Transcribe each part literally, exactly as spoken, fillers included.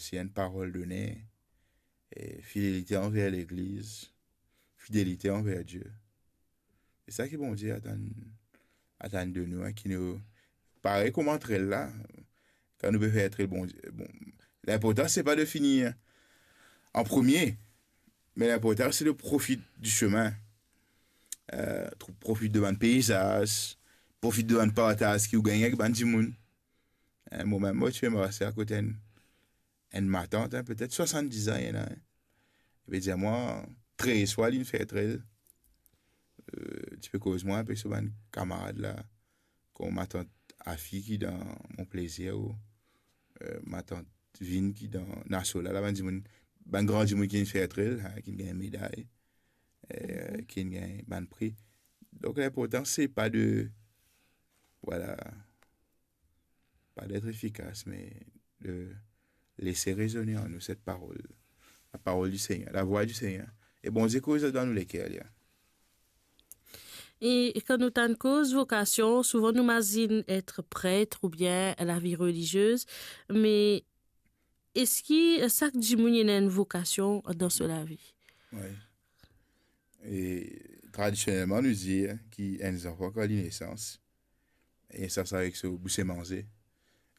si enn parol done, e fidelite anver Legliz, fidelite anver Die. E sa ki Bondie atann, atann de nou, hein, ki nou, parey kouma antre la, kan nou pe fer antre Bondie, bon, linportan se pa de fini an premie, me linportan se de profit di semin, euh, tro-, profit de bann peizaz, profit de bann partaz ki ou gagne avek bann dimoun. Hein, mo mem, mo ti pe mars akote enn, enn matant, hein, petet swasann-diz an li ena, hein. Li pe dir mwa, trez fwa li finn fer antre. Euh, ti pe koz mwa inpe so bann kamarad la, kouma matant Afi ki dan Mon Plaisir, ou, euh, matant Vin ki dan Naso la, la bann dimoun, bann gran dimoun ki finn fer antre, hein, ki gagn meday, euh, ki gagn bann pri. Donk, linportan, se pa de, vwala, pa d'être efficace, mais de laisser résonner en nous cette parole, la parole du Seigneur, la voix du Seigneur. E Bondie koz dan nou leker, li, hein. E kan nou tann koz vokasion, souvan nou mazinn et pret oubien lavi reliziez, me eski sak dimoun ena enn vokasion dan so lavi? Wi. E tradisionelman, nou dir ki enn zanfan, kan li nesans, e sa, sa avek so bouse manze.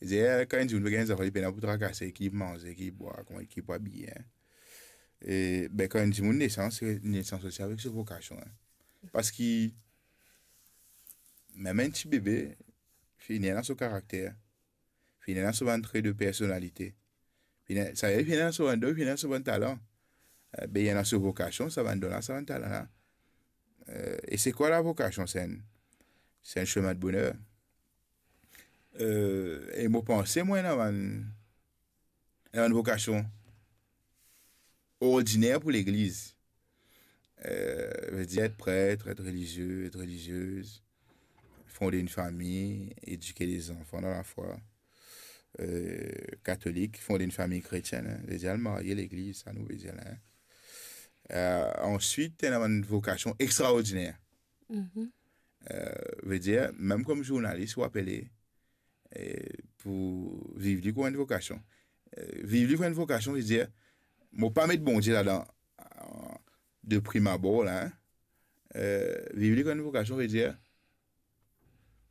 Li dir, eh, kan enn dimoun pe gagn zanfan, li pena pou trakase ki manze, ki bwar, kouma, ki pou abiye, hein. E, be, kan enn dimoun nesans, nesans osi avek so vokasion, hein. Parski mem enn ti bebe, finn ena so karakter, finn ena so bann tre de personalite, finn ena, sa, finn ena so bann don, finn ena so bann talan. Eh, be, li ena so vokasion, sa bann don la, sa bann talan la. Eh, e se kwa la vokasion? Se enn, se enn semin de boner. Eh, e mo panse, mwa, ena bann, ena bann vokasion ordiner pou Legliz. Eh, vedir et pret, et relizie, et reliziez, fonder enn fami, edike de zanfan dan lafwa, eh, katolik, fonder enn fami kretienn, hein. Vedir al marye Legliz, sa nou vedir la, hein. Eh, answit, ena bann vokasion extraordiner. Eh, vedir, mem kom zournalis, ou apele, eh, pou viv li kouma enn vokasion. Eh, viv li kouma enn vokasion, vedir, mo pa met Bondie ladan, eh, de prime abord la, hein. Eh, viv li kouma enn vokasion, vedir,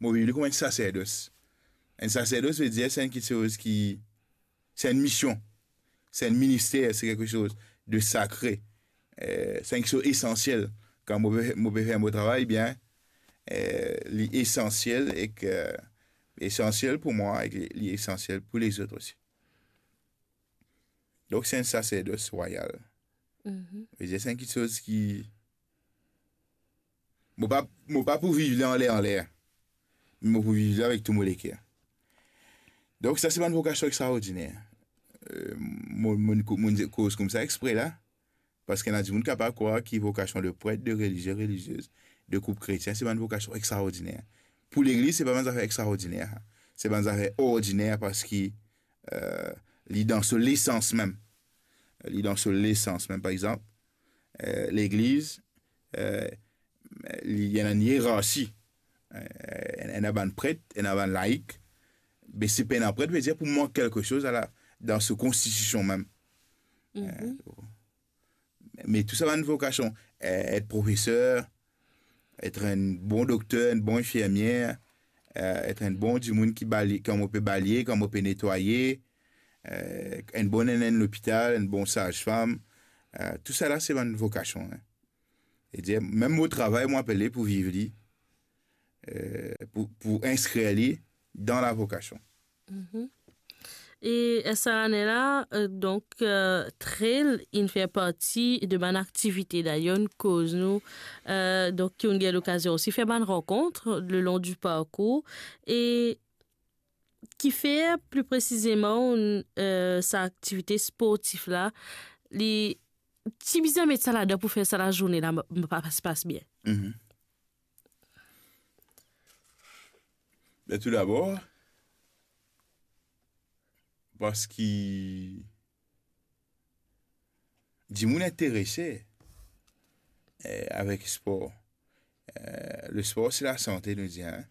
mo viv li kouma enn saserdos. Enn saserdos, vedir, se enn kiksoz ki, se enn mision, se enn minister, se kiksoz de sakre. Eh, se enn kiksoz esansiel. Kan mo pe, mo pe fer mo travay bien, eh, li esansiel ek, eh, esansiel pou mwa ek li, li esansiel pou lezot osi. Donk, se enn saserdos rwayal. Vedir, se enn kiksoz ki, mo pa, mo pa pou viv li anler, anler. Mo pou viv li avek tou mo leker. Donk, sa se bann vokasion extraordiner. Eh, mo, mo, mo koz koumsa expre la, parski ena dimoun kapav krwar ki vokasion de pret, de relizie, reliziez, de koup kretien, se bann vokasion extraordiner. Pou Legliz, se pa bann zafer extraordiner, se bann zafer ordiner, parski, eh, li dan so lesans mem. Li dan so lesans mem. Par exanp, eh, Legliz, eh, li ena enn ierarsi. Eh, ena bann pret, ena bann laik. Be si pena pret, vedir pou mank kelke soz, ala, dan so konstitision mem. Eh, me tou sa bann vokasion, eh, et profeser, et enn bon dokter, enn bon infirmier, eh, et enn bon dimoun ki balye, kan mo pe balye, kan mo pe netwaye, eh, enn bon nennenn lopital, enn bon sazfam, eh, tou sa la se bann vokasion, hein. Vedir, mem mo travay, mo apele pou viv li, eh, pou, pou inskrir li dan la vokasion. E, eh, sa ane la, eh, donk, eh, Trail inn fer parti de bann aktivite. Dayer, nou koz nou, eh, donk, ki ou'nn gagn lokazion osi fer bann rankont le long du parcours. E kifer, pli presizeman, eh, sa aktivite sportif la, li, ti bizin met sa ladan pou fer sa lazourne la, m-, m-, pa, pas, pas bien? Be, tou dabor, parski dimoun interese, eh, avek spor. Eh, le spor, se lasante, nou dir, hein.